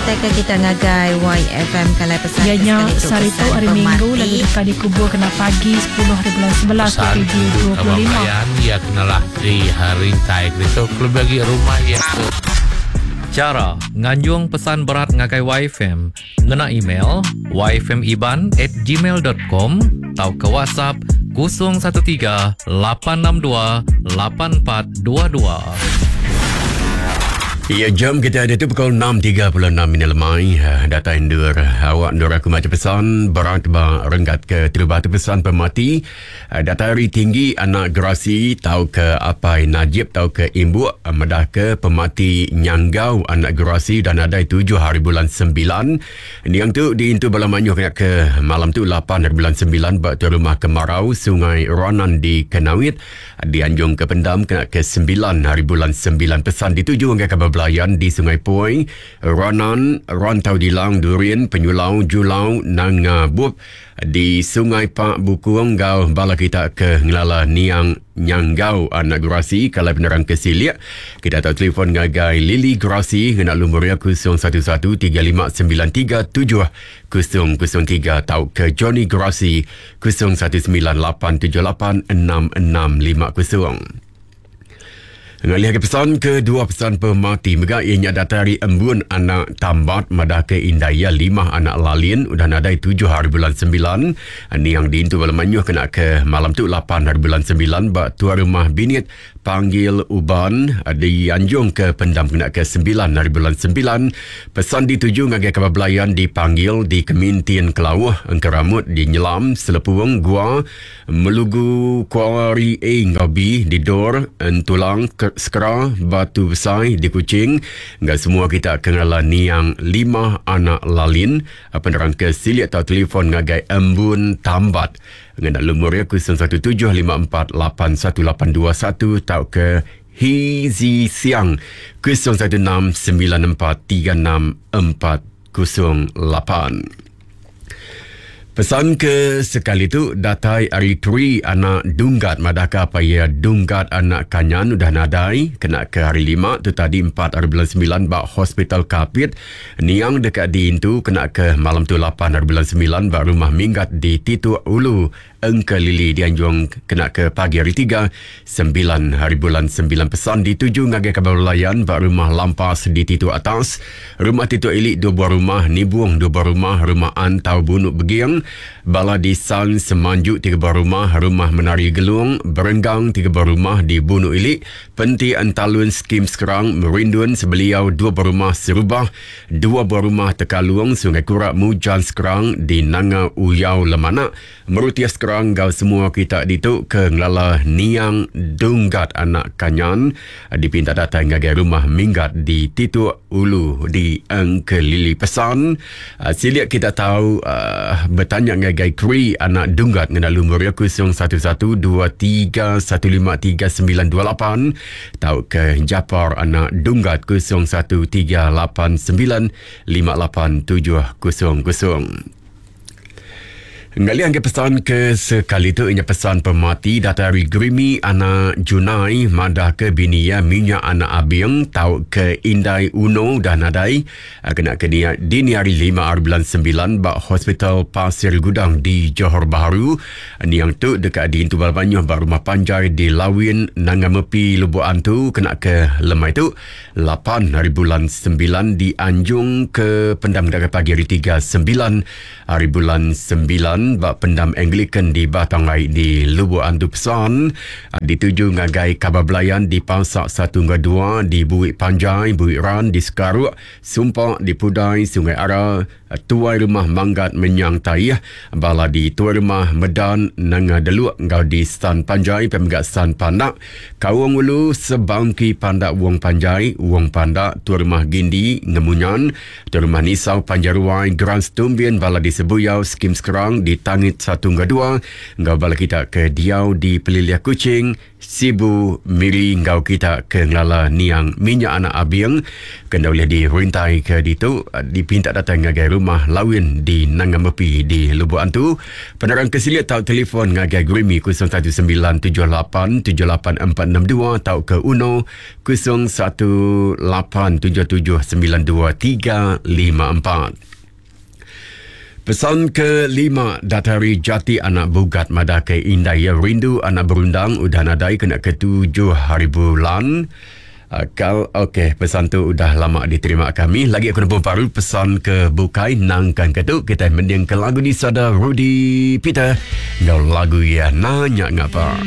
Ngenatai ke kita ngagai YFM kalai pesan Iya ke nya sekali tu sehari tu pesan hari Minggu lalu pemati. deka dikubur kena pagi 10 hari bulan 11 Pesan indu kaban 2025. belayan iya kenalah di rintai ke ditu kelebih agi rumah iya ke Chara nganjung pesan berat ngagai YFM ngena email yfmiban at gmail dot com tauka WhatsApp 013 862 8422. Ya, jam kita ada tu pukul 6.36 minit lemai. Eh, datai endur awak endur aku maca pesan berat ba renggat ke terubah tu pesan pemati. Eh, datai hari tinggi anak gerasi tau ke apai Najib tau ke imbuk eh, medah ke pemati nyanggau anak gerasi dan adai 7 hari bulan 9. Niang tu diintu bala mayuh kena ke malam tu 8 hari bulan 9 ba tuai rumah Kemarau Sungai Ranan di Kenawit. Dianjung ke pendam kena ke 9 hari bulan 9 pesan dituju ngagai kaban belayan di Sungai Poi, Ranan, Rantau Dilang, Durin, Penyulau, Julau, Nanga Bup, di Sungai Pak Bukung enggau bala kita ke ngelala niang Nyanggau anak Gerasi kalai penerang ke silik. Kita tau telefon ngagai Lily Gerasi ngena lumur iya 011 3593 7003 tauka Johnny Gerasi 019 878 6650. Ngalih ke pesan kedua pesan pemati mega iya nya datai ari Embun anak Tambat madah ke indai iya limah anak Lalin udah nadai tujuh hari bulan sembilan niang diintu bala mayuh kena ke malam tu lapan hari bulan sembilan ba tuai rumah Binit Panggil Uban dianjung ke pendam kena ke sembilan hari bulan sembilan. Pesan dituju ngagai kaban belayan dipanggil di Kemintin Kelauh, Engkeramut di Nyelam, Selepung, Gua, Melugu, Kuari A enggau B di Dor, Entulang, Sekera, Batu Besai di Kuching enggau semua kita ke ngelala niang Limah anak Lalin. Penerang ke silik tau telefon ngagai Embun Tambat ngena lumur iya 0175481821 tauka Hee Zi Siang 0169436408. Pesan ke sekali tu datai ari Tri anak Dunggat madahka apai iya Dunggat anak Kanyan udah nadai kena ke hari Lima tu tadi empat hari bulan semilan ba Hospital Kapit. Niang deka diintu kena ke malam tu lapan hari bulan semilan ba Rumah Minggat di Tituk Ulu Engkelili dianjung kena ke pagi hari Tiga, sembilan hari bulan sembilan pesan dituju ngagai kaban belayan ba Rumah Lampas di Titu Atas, Rumah Titu Ili dua buah rumah, Nibung dua buah rumah, Rumah Antau Bunuk Beging, Bala di San Semanju tiga buah rumah, Rumah Menari Gelung, Berenggang tiga buah rumah di Bunuk Ili, Penti Entalun Skim Skrang, Merindun Sebeliau dua buah rumah, Serubah dua buah rumah, Tekalung, Sungai Kurak, Mujan Skrang di Nanga Uyau Lemanak, Meruti sekerang enggau semua kita ditu ke ngelala niang Dunggat anak Kanyan dipinta datai ngagai rumah Minggat di Tituk Ulu di Engkelili. Pesan silik kita tau betanya ngagai Kri anak Dunggat ngena lumur iya 011 23 15 3928 tauka Japar anak Dunggat 01 3 8 9 5 8 7 0 0. Ngalih anggai pesan ke sekali tu inya pesan pemati datai ari Grimi anak Junai madah ke bini iya minyak anak Abing tau ke indai Uno udah nadai kena ke dia dini hari lima hari bulan sembilan ba Hospital Pasir Gudang di Johor Bahru. Niang tu deka diintu bala mayuh ba rumah panjai di Lawin Nanga Mepi Lubok Antu kena ke lemai tu lapan hari bulan sembilan dianjung ke pendam dagai pagi hari tiga sembilan hari bulan sembilan ba pendam Anglican di Batang Ai di Lubok Antu Pesan dituju ngagai kaban belayan di Pasak satu enggau dua di Buik Panjai, Buik Ran di Sekaruk, Sumpa di Pudai, Sungai Ara, Tuai Rumah Manggat Menyang Taih, bala di Tuai Rumah Medan Nanga Deluk enggau di San Panjai pia mega San Pandak, Kaung Ulu, Sebangki Pandak Wong Panjai, Wong Pandak, Tuai Rumah Gindi Ngemunyan, Tuai Rumah Nisau Panjai Ruai, Grant Stumbin bala di Sebuyau, Skim Skrang di. di Tangit 1 enggau 2 enggau bala kita ke diau di Pelilih Kuching, Sibu, Miri enggau kita ke ngelala niang Minyak Anak Abing ke enda ulih dirintai ke ditu dipinta datai ngagai Rumah Lawin di Nanga Mepi di Lubok Antu. Penerang ke silik tau telefon ngagai Gurimi 0197878462 tauka Uno 0187792354. Pesan ke lima datai ari Jati anak Bugat madah ke indai iya rindu anak berundang udah nadai kena ke tujuh hari bulan. Kal ok pesan tu udah lama diterima kami. Lagi aku nemu baru pesan ke bukai nangkan ke tu kitai mending ke lagu disada Rudy Peter enggau lagu iya Nanya Ngapa.